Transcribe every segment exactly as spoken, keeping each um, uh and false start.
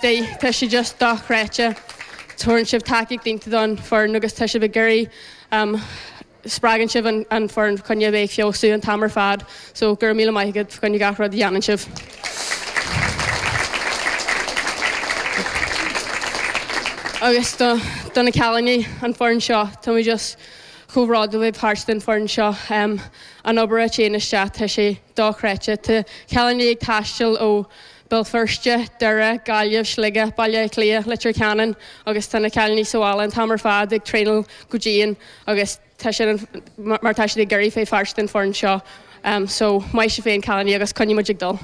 Tá sé just dochreidte tugann sibh tacaíocht iontach don fhoireann agus tá sibh ag iarraidh um, spreagann sibh an, an foireann chun bheith feabhsú an t-am ar fad, so gur míle maith agat chun gach rud a dhéanann sibh. Agus do, do na cailíní an foireann seo tá mé just chomh bródúil bheith páirt den foireann seo um, an obair a théann isteach tá sé dochreidte Tá cailíní ag taisteal ó Béal Feirste, Doire, Gaillimh, Sligeach, Baile Átha Cliath, Leitir Ceanainn agus tá na cailíní sa bhaile an t-am ar fad ag traenáil go dian agus tá sin mar tá siad ag iarraidh bheith páirt den foireann seo. Um, so maith sibh féin cailíní agus coinneoidh muid ag dul.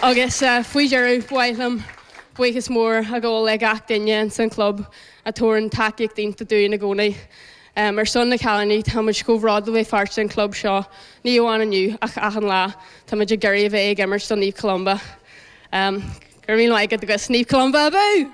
Agus uh, faoi dheireadh ba mhaith liom buíochas mór a ghabháil le gach duine san club a thugann tacaíocht iontach dúinn i gcónaí. Um, ar son na cailíní tá muid chomh bródúil bheith páirt den club seo, ní amháin inniu ach achan lá, Tá muid ag iarraidh a bheith ag imirt do Naomh Columba. Um, Gur mí agat agus Naomh Columba abú!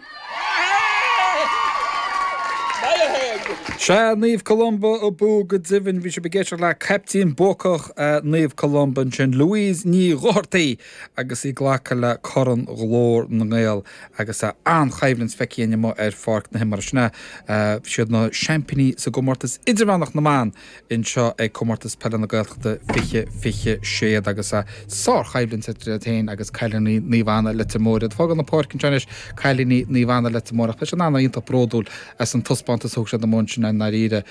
Sea, Naomh Columba abú go deimhin bhí sibh ag éisteacht le caiptín buacach Naomh Columba ansin, Louise Ní Dhochartaigh agus í ag glacadh le Corn Ghlór na nGael agus an-choimhlint feicthe againn amuigh ar pháirc na himeartha. Sin é, siad na seaimpíní sa gcomórtas idirmheánach na mban anseo ag Comórtas Peile na Gaeltachta fiche fiche sé agus sárchoimhlint idir iad féin agus cailíní Naomh Anna Leitir Móir. Iad ag fágáil na páirce anseo anois, cailíní Naomh Anna Leitir Móir ach beidh siad an-iontach bródúil as an taispeántas a thug siad amuigh ansin i ndáiríre.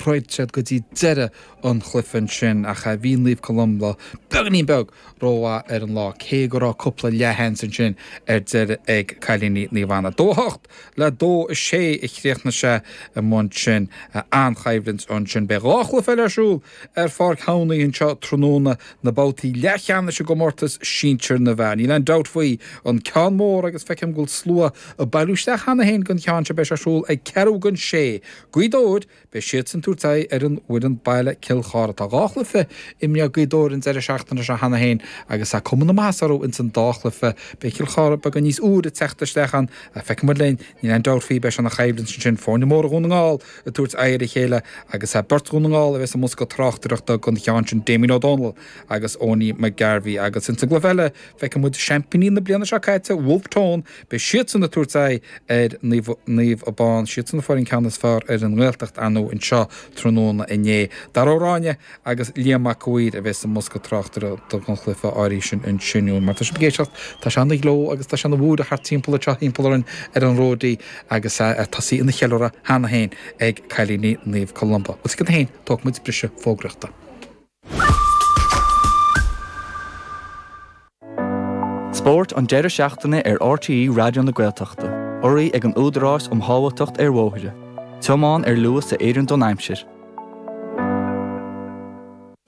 Throid siad go dtí deireadh an chluiche ansin ach bhí Naomh Columba beagáinín beag rómhaith ar an lá, cé go raibh cúpla leathsheans ansin ar deireadh ag cailíní Naomh Anna. Dó a hocht le dó a sé a chríochnaigh sé amuigh ansin. An-choimhlint ansin. Beidh dhá chluiche eile ar siúl ar Pháirc Thamhnaigh anseo tráthnóna, na babhtaí leathcheannais i gcomórtas sinsir na bhfear. Níl aon dabht faoi, an ceann mór agus feicim go bhfuil slua ag bailiú isteach cheana féin don cheann seo, beidh sé ar siúl ag ceathrú don sé. Gaoth Dobhair, beidh siadsan ag tabhairt aghaidh ar an bhfoireann baile Cill Chartha. Tá dhá chluiche imeartha ag Gaoth Dobhair an deireadh seachtaine seo cheana féin agus tá cuma na maitheasa orthu ins an dá chluiche. Beidh Cill Chartha beagán níos úire ag teacht isteach ann ach feicfidh muid linn, níl aon dabht faoi, beidh sé ina choimhlint ansin, foirne móra Dhún na nGall ag tabhairt aghaidh ar a chéile agus beirt Dhún na nGall a bheas i mbosca tráchtaireachta don cheann sin, Damien Ó Dónaill agus Owenie McGarvey. Agus ins an gcluiche eile, feicfidh muid seaimpíní na bliana seo caite, Wolfe Tone, beidh siadsan ag tabhairt aghaidh ar Naomh Abán, siadsan a fuair an ceann is fearr ar an nGaeltacht, ar ndóigh, anseo tráthnóna inné. Dara Ó Ráinne agus Liam Mac a' Mhaoir a bheas i mbosca tráchtaireachta don chluiche áirithe sin ansin. Mar tá sibh ag éisteacht, tá sé ina ghleo agus tá sé ina bhúireach thart timpeall anseo thimpeall orainn ar an Ródaí agus tosaithe ina cheiliúradh cheana féin ag cailíní Naomh Columba. Bhuel, tuigim féin, tógfaidh muid briseadh fógraíochta. Spórt an deireadh seachtaine ar RTÉ Raidió na Gaeltachta, urraithe ag an Údarás um Shábháilteacht ar Bhóithre. Tiomáin ar luas a oireann don aimsir.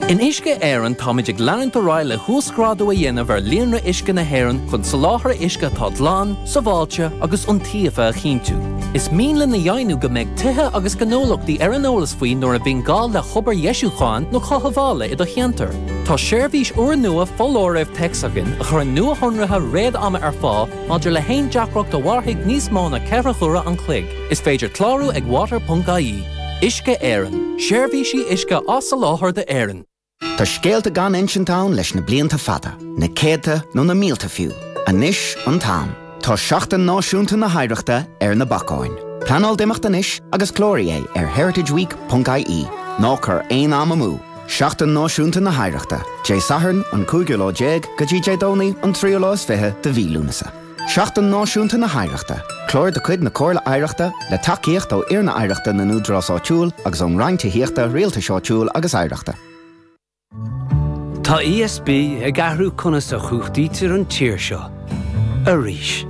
In Uisce Éireann táimid ag leanúint ar aghaidh le huasghrádú a dhéanamh ar líonra uisce na hÉireann chun soláthar uisce atá glan, sábháilte agus iontaofa a chinntiú. Is mian linn a dheimhniú go mbeidh tithe agus gnólachtaí ar an eolas faoi nuair a bhíonn gá le hobair dheisiúcháin nó chothabhála i do cheantar. Tá seirbhís úrnua foláirimh téacs againn a chuireann nuashonruithe réad-ama ar fáil maidir le haon deacracht a mhairfidh níos mó ná ceithre huaire an chloig. Is féidir clárú ag water.ie. Uisce Éireann, seirbhísí uisce á soláthar d'Éirinn. Tá scéalta gan insint ann leis na blianta fada, na céadta nó na mílte fiú. Anois an t-am. Tá Seachtain Náisiúnta na hOidhreachta ar na bacáin. Pleanáil d'imeacht anois agus cláraigh é ar heritageweek ponc ie. Ná cuir aon am amú! Seachtain Náisiúnta na hOidhreachta, Dé Sathairn an cúigiú lá déag go dtí Dé Domhnaigh an tríú lá is fiche de mhí Lúnasa. Seachtain Náisiúnta na hOidhreachta, clár de chuid na Comhairle Oidhreachta le tacaíocht ó Fhoirne Oidhreachta na nÚdarás Áitiúil agus ón Roinn Tithíochta, Rialtais Áitiúil agus Oidhreachta. Tá ESB ag athrú conas a chumhachtaítear an tír seo. Arís.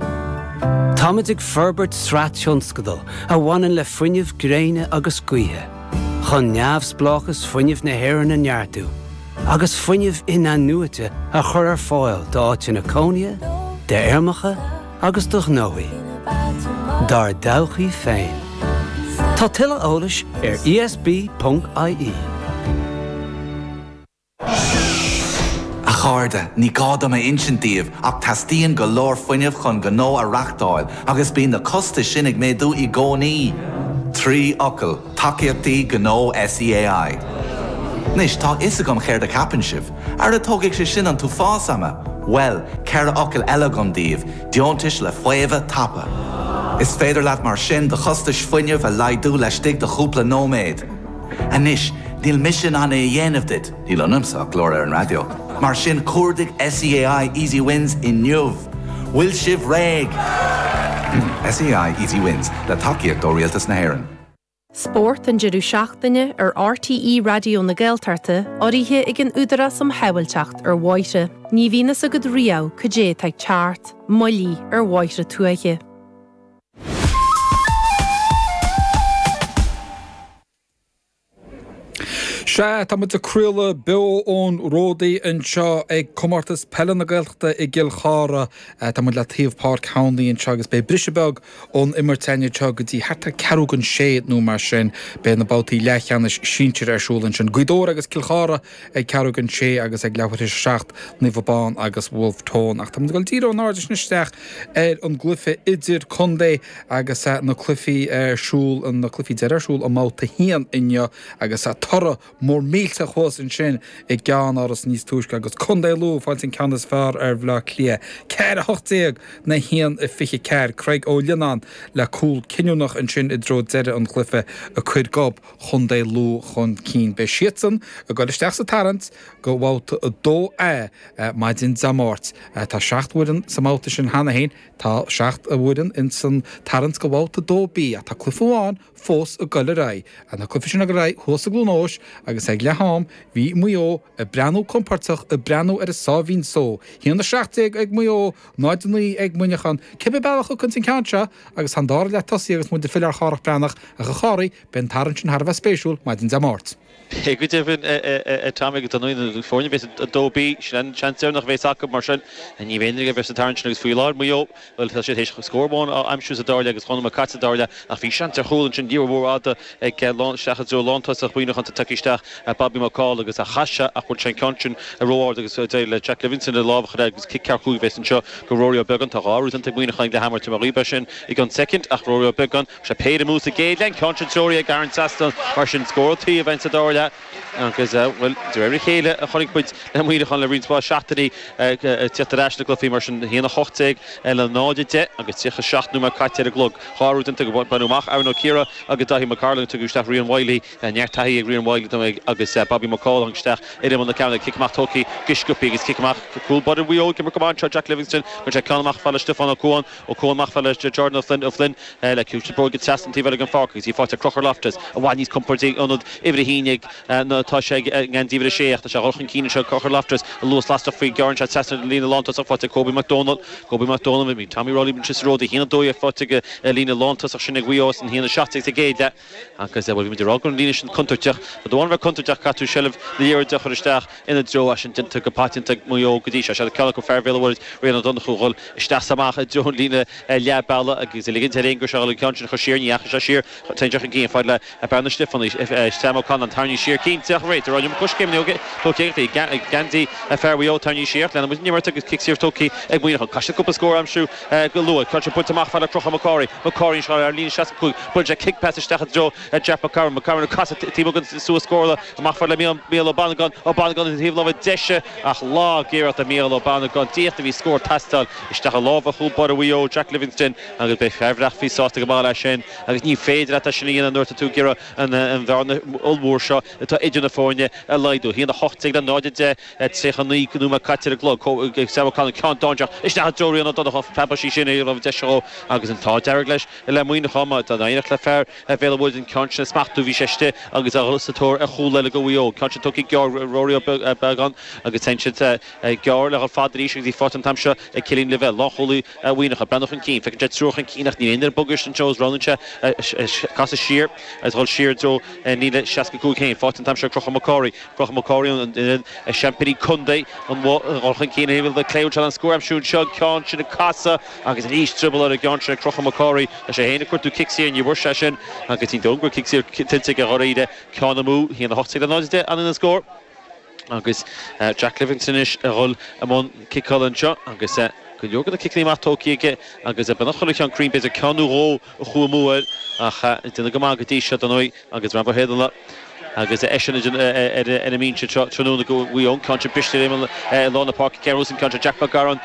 Táimid ag forbairt sraith tionscadal a bhaineann le fuinneamh gréine agus gaoithe, chun neamhspleáchas fuinnimh na hÉireann a neartú agus fuinneamh in-athnuaite a chur ar fáil d'áiteanna cónaithe, d'fheirmeacha agus do ghnóthaí. Dár dtodhchaí féin. Tá tuilleadh eolais ar ESB.ie. A chairde, ní gá dom a insint daoibh ach teastaíonn go leor fuinnimh chun gnó a reáchtáil agus bíonn na costais sin ag méadú i gcónaí. Trí fhocal, tacaíochtaí gnó SEAI. Anois, tá a fhios agam céard a cheapann sibh. Ara tógfaidh sé sin an t-uafás ama. Well, ceithre fhocal eile agam daoibh, deontais le faomhadh tapa. Is féidir leat mar sin do chostais fuinnimh a laghdú laistigh de chúpla nóiméad. Anois, níl mise in ann é a dhéanamh duit, níl ionamsa ach glór ar an raidió. Mar sin cuardaigh SEAI Easy Wins inniu. Bhfuil sibh réidh. SEAI Easy Wins le tacaíocht ó Rialtas na hÉireann. Spórt an deireadh seachtaine ar RTÉ Raidió na Gaeltachta urraithe ag an Údarás um Shábháilteacht ar Bhóithre. Ní bhíonn a fhios agat riamh cad é atá ag teacht, moilligh ar bhóithre tuaithe. Sea, tá muid ag craoladh beo ón Ródaí anseo ag Comórtas Peile na Gaeltachta i gCill Chartha. Tá muid le taobh Páirc Thomley anseo agus beidh briseadh beag ón imirt againn anseo go dtí thart ar ceathrú don sé nó mar sin. Beidh na babhtaí leathcheannais sinsir ar siúl ansin. Gaoth Dobhair agus Cill Chartha ag ceathrú don sé agus ag leathuair tar éis a seacht Naomh Abán agus Wolfe Tone. Ach tá muid ag dul díreach in airde sin isteach ar an gcluiche idir contae agus na cluichí ar siúl, na cluichí deiridh ar siúl i mbabhta a haon inniu agus toradh mór millteach thuas ansin i gceannáras níos túisce agus Contae Lú ag fáilt an ceann is fearr ar Bhaile Átha Cliath. Ceathair a hocht déag na haon a fiche ceathair. Craig Ó Lionnáin le cúl cinniúnach ansin i dtreo deireadh an chluiche a chuir gob Chontae Lú chun cinn. Beidh siadsan ag dul isteach sa tarraingt go bhabhta a dó A maidin Dé Máirt. Tá seacht bhfoireann sa mbabhta sin cheana féin, tá seacht bhfoireann ins an tarraingt go bhabhta dó B ach tá cluiche amháin fós ag dul ar aghaidh. Na cluichí sin ag dul ar aghaidh thuas i gCluain Eois agus ag leath am bhí Maigh Eo ag breathnú compordach ag breathnú ar a sáimhín só. Haon a seacht déag ag Maigh Eo, náid a naoi ag Muineachán. Cibé bealach a thiocfaidh an ceann seo agus tá an dara leath tosaithe agus muid ag filleadh ar Chárthach Breathnach ach a Chárthaigh, beidh an tarraingt sin thar a bheith spéisiúil maidin Dé Máirt. Go deimhin Tommy go na foirne bheas a dó B sin an seans deireanach a bheas acu mar sin ní bheidh aon bheith sa tarraingt sin agus faoi láthair Maigh Eo bhuel tá siad théis scór amháin a aimsiú sa dara leath agus dhá nóiméad caite sa dara leath ach bhí seans ar chúl ansin liathróid mhór fhada ag lán isteach i dtreo lántosach Mhuineacháin tagtha isteach Bobby McCall agus a chas sé ach bhfuil sé an ceann sin ró-ard agus d'éirigh le Jack Livingston a lámh a chur air agus cic ceart cúig a bheas anseo go Rory Ó Beagáin tá dhá rud ag Muineachán le hamart mar ghaoth sin i gceann soicind ach Rory Ó Beagáin sé péire amú sa gcéad leath an ceann sin treoraithe ag Aaron Saston mar sin scór taobh sa dara leath agus bhuel de réir a chéile a chonaic muid le Muineachán le roinnt mhaith seachtainí teacht ar ais na gcluichí mar sin haon a hocht déag le náid a deich agus tríocha seacht nóiméad caite ar an gclog. Dhá rud iontu go baineadh amach Aaron Ó Ciara agus Daithí McCarlin tugadh isteach Rian Wiley neart taithí ag Rian Wiley agus Bobby McCall tháinig isteach ar imeall na ceann cic amach tógtha go sciobtha agus cic amach cúl báire Mhaigh Eo ag imirt go maith anseo Jack Livingston go sé ceann amach fad le Stiofán Ó Cuan Ó Cuan amach fad le Jordan Ó Flynn Ó Flynn le cúis bróige trasna an taobh eile den pháirc agus í faighte Conchúr Loftus i bhfad níos compordaí ionad uimhir a haon ag ná tá sé ag an uimhir a sé ach tá sé dhul chun cinn anseo Conchúr Loftus a luas lasrach faoi gearrann sé trasna an líne lántosach faighte Kobe McDonald Kobe McDonald bhí Tommy Rowley bhí sé ród a haon a dó faighte ag líne lántosach sin ag Mhaigh Eo an haon a seacht déag sa gcéad leath agus bhuel bhí muid ag rá go raibh an líne sin contúirteach Ba dóigh bheith contúirteach caithfidh tú seilbh na liathróide a chur isteach ina dtreo as sin déanta go paiteanta ag Maigh Eo go dtí seo sé ceann acu fear Bhéal an Mhuirthead Rian Ó Donnchú dhul isteach is amach i dtreo an líne leath bealaigh agus a ligint air féin go seo an ceann sin a chur siar ní dheachaigh sé siar téann sé chun cinn fad le Bearna Stiofáin Sam O'Connor tarraingthe siar cinnte ach réiteoir ag rá coiscéim tógtha ag geansaí fear Mhaigh Eo tarraingthe siar leanann muid an imirt agus cic saor tógtha ag Muineachán caithfidh siad cúpla scór a aimsiú go luath ceann sin buailte amach fad le Conchúr McCorry McCorry anseo ar líne seasca cúig buaileann sé kick pass isteach i dtreo Jack McCarron McCarron ag casadh taobh amuigh den suas scórála amach fad le Mícheál Ó Bannagáin Ó Bannagáin i dtaobh láimhe deise ach lag-iarracht ag Mícheál Ó Bannagáin díreach a bhí scór ag teastáil isteach i lámha chúl báire Mhaigh Eo Jack Livingston agus beidh fear Bhreachfaí sásta go maith leis sin agus ní féidir leat é sin a dhéanamh nuair atá tú ag iarraidh an bhearna ollmhór seo atá idir na foirne a laghdú. Haon a hocht déag le náid a deich, tríocha naoi nóiméad caite ar an gclog. Sam O'Connor ceann dainséarach isteach i dtreo Rian Ó Donnchú preabadh sí sin ar raibh deis dhó agus an t-ádh dearg leis le Muineachán má tá éineacht le fear Bhéal an Mhuirthead an ceann sin a smachtú bhí sé istigh agus é sa tóir ar chúl eile do Mhaigh Eo. Ceann sin tugtha gearr Rory Ó Beagáin agus téann siad gearr le dhul fada arís agus í faighte an t-am seo ag Cillian Lavelle, lánchúlaí Mhuineacháin. Breathnú chun cinn, feiceann sé triúr chun cinn ach níl aon duine ag bogadh anseo agus roghnaíonn sé casadh siar agus dhul siar i dtreo líne seasca cúig féin. Faighte an t-am seo ag Conchúr McCorry. Conchúr McCorry an seaimpíní contae an dhul chun cinn ar thaobh clé anseo an scór aimsiú anseo an ceann sin ag casadh agus arís drioball ar an gceann sin ag Conchúr McCorry. Tá sé féin ag cuartú cic saor ní bhfuair sé sin agus ní dóigh go bhfuil cic saor tuillte aige dháiríre. Ceann amú, haon a hocht déag le náid a deich an scór. Agus Jack Livingston anois a dhul i mbun ciceála anseo agus go leor de na ciceanna amach tógtha aige agus beagnach chuile cheann cruinn b'fhéidir ceann nó dhó a chuaigh amú air ach déanamh go maith go dtí seo dar ndóigh agus Rambo Héadala Agus eisean ar an mbinse tráthnóna do Mhaigh Eo ceann briste lár na páirce Ceann Jack McGarron.